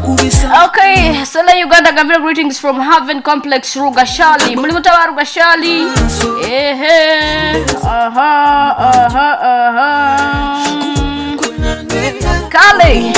Okay, Sela Uganda Gambira greetings from Haven Complex Rugashali. Muri mutaba Rugashali. Ehe. Aha, aha, aha. Kale.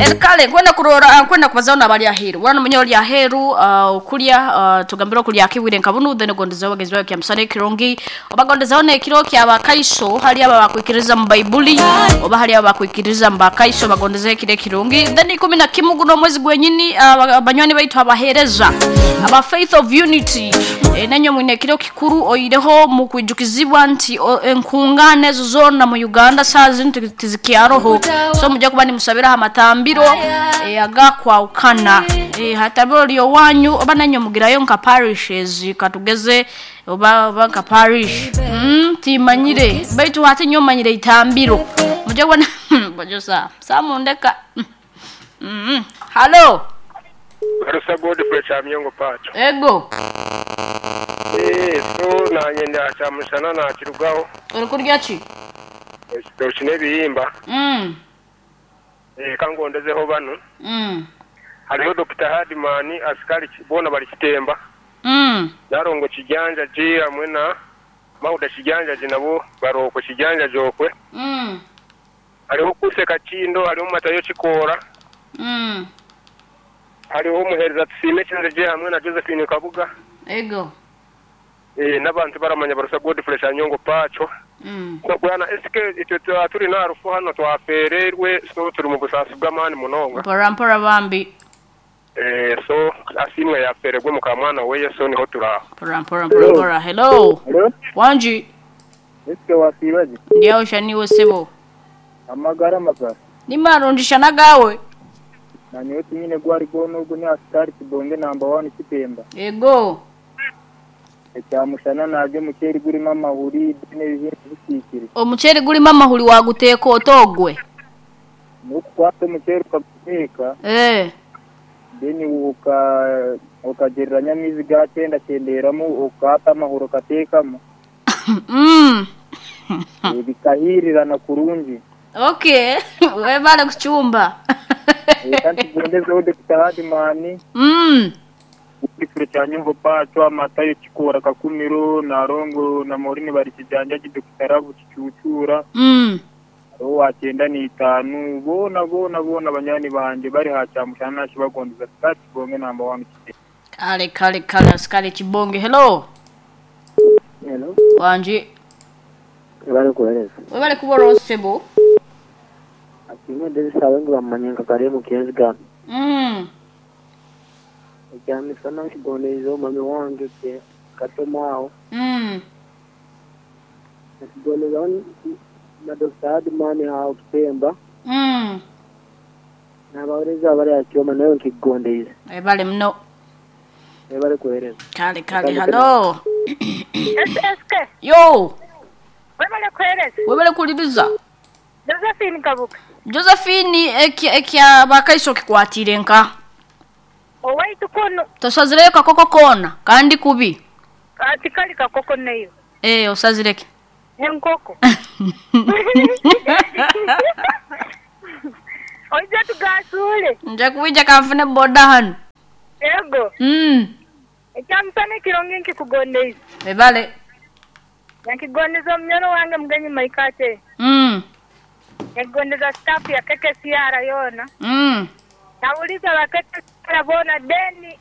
El kale kwenda kurora kwenda kubazaho nabali aheru. Wana munyo lya aheru okulya tugambira okulya akiwire nkabunu then gondezaho bagenzi bawe kya musane kirungi. Obagondezaho nekiro kya bakaiso hali aba bakwikiriza mu Baibuli oba hali aba bakwikiriza mu bakaiso bagondezaho ekiro kirungi. Then 11 guno mwezi gwenyini banywani baitu abahereza aba Faith of Unity nenyo mwine ekiro kikuru oireho mu kwijukizibwa nti enkungane ezo zona mu Uganda saa zino tizikyaroho so mujja kuba nimusabira amatambiro agakwawukana hatambiro lyo wanyu oba nanyo mugirayo nka parishes katugeze oba nka parish timanyire baitu hati nyo manyire itambiro mujja kuba bajosa samundeka Hello Barusa Godfrey Chamyongo Pacho. Ego. So nanyenda chamushana na kirugaho. Uri kurya ki? Ekitoki n'ebihimba. Kangondezeho bano. Hariho Dr. Hardman asikari bona bari kitemba. Narongo kijanja ji hamwe na Mauda kijanja ji nabo baroko kijanja jokwe. Hariho kuseka kindo hariho matayo kikora. Hariho umuhereza tusime kinze hamwe na Josephine Kabuga. Ego. N'abantu baramanya Barusa Godfrey Chanyongo Pacho. Bwana SK icyo turi na rufu hano twafererwe so turi mu busasi bw'amani munonga. Mpora mpora bambi. So asimwe yafererwe mu kamwana we Yesu niho turaho. Mpora mpora mpora. Hello. Hello. Wanji. SK wasibaje? Ndiyo shaniwe sebo. Amagara magara. Nimarundisha nagawe. Nanyoti nyine gwari gono ubwo ni askari kibonge number 1 kitemba. Ego. Ekyamushana naje muceri gurimo amahuri n'ebintu bisikire. Omuceri gurimo amahuri waguteka otogwe. Nukukwata umuceri ukaguteka. Then ukagereranya amizi gakenda kenderamo ukata amahuri ukatekamo. Bikahirirana kurungi. Okay, webale kuchumba. Kandi gondezeho Dr. Hardman. Ikiro cya Nyungu Pacho amatayo kikora kakumiro narongo na Morini bari kijanja Dr. Rabu kicucura. Ro wakenda ni 5 bona bona bona banyani banje bari hacyamushana nashibagondeza start bonge number 1. Kale kale kale askari kibonge. Hello. Hello. Wanji. Bari kuhereza. Webale kubora osebo. Akimwe ndezi sawengi bamanyenga kare mu kienziga. Ekyamisana nkigonderezo mami wange ke katomao. Nkigonderezo na Dr. Hardman hao kitemba. N'abawereza abari akyoma nayo nkigonderezo. Ebale mno. Ebale kuhereza. Kale kale hello. SSK. Yo. Webale kuhereza. Webale kuliriza. Josephine Kabuka. Josephine ekya bakaiso kikwatire nka. Owaitu kono. Tosazireyo kakoko kona kandi kubi. Atikali kakoko neyo. Osazireke. Enkoko. Oija tugasule. Nja kuija kamfune boda hano. Ego. Ekyamusana kironge nkikugondeiza. Ebale. Nkigondeza omunyoro wange mugenyi maikate. Nkigondeza staff ya KKCR yona. Nauliza wa KKCR bona deni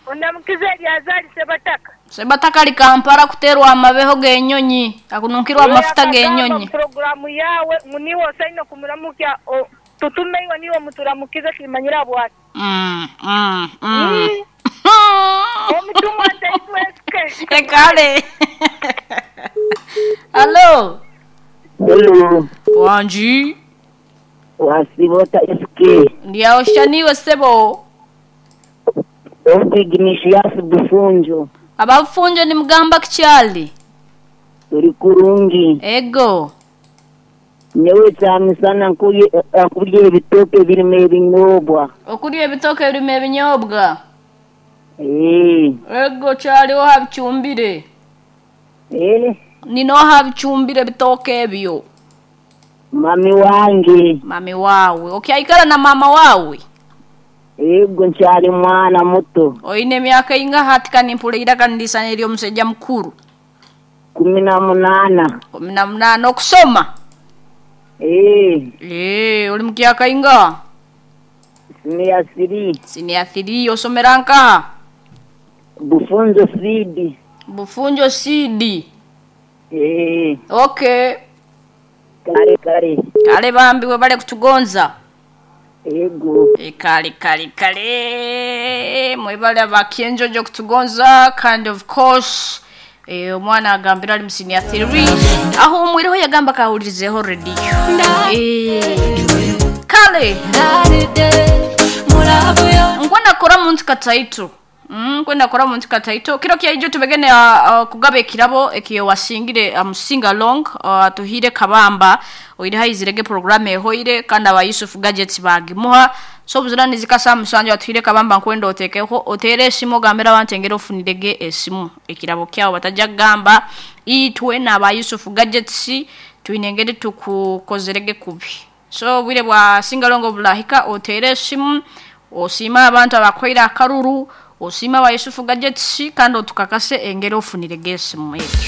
ondamukize Eliazari Sebataka. Sebataka likampara kuterwa amabeho genyonyi akununkirwa amafuta genyonyi. Programu yawe muniwo saino kumuramukia tutume iwe niwo muturamukize kimanyira bwati. Omutumwa taitweske. Ekale. Hello. Hello. Wanji. Wasibota SK. Ndiyo shaniwe sebo. Opiginishiyasi bufunjo. Abafunjo ni mugamba kichali. Turi kurungi. Ego. Nyewe cyamisana nkurye ebitoke birimo ebinyobwa. Okurya ebitoke birimo ebinyobwa. Ego cyaliho habicumbire. Nino habicumbire bitoke ebyo. Mami wange. Mami wawe. Okay, aikara na mama wawe. Yego nkyali mwana muto. Oine emyaka ingaha ati kanimpura eiraka nirisana ery'omushaija mukuru? 18. 18 okusoma? Ee. Ee, ori mukyaka ingaha? Siniya 3. Siniya 3 osomera nkaha? Bufunjo seed. Bufunjo seed. Ee. Okay. Kale kale. Kale bambi webale kutugonza. Yego. E, kale kale kale mwebale abakyenjojo kutugonza kandi of course e, omwana agambira ali mu senior 3 aho omwireho yagamba kahulirizeho radio e, kale nkwenda kora muntu kataito nkwenda kora muntu kataito kiro kyaijo tubegene kugaba ekirabo ekiyo wasingire sing along tuhire kabamba oire haizirege program ehoire kandi aba Yusuf Gadgets bagimuha so buzira nizikasa musanjo atuhire kabamba nkwenda otekeho otere esimu gambira abantu engero ofunirege esimu ekirabo kyawo batajja kugamba itwe n'aba Yusuf Gadgets twinengere tukukozerege kubi so bwire bwa singalongo bulahika otere esimu osima abantu abakoira akaruru osima aba Yusufu Gadgets kandi otukakase engero ofunirege esimu ekyo.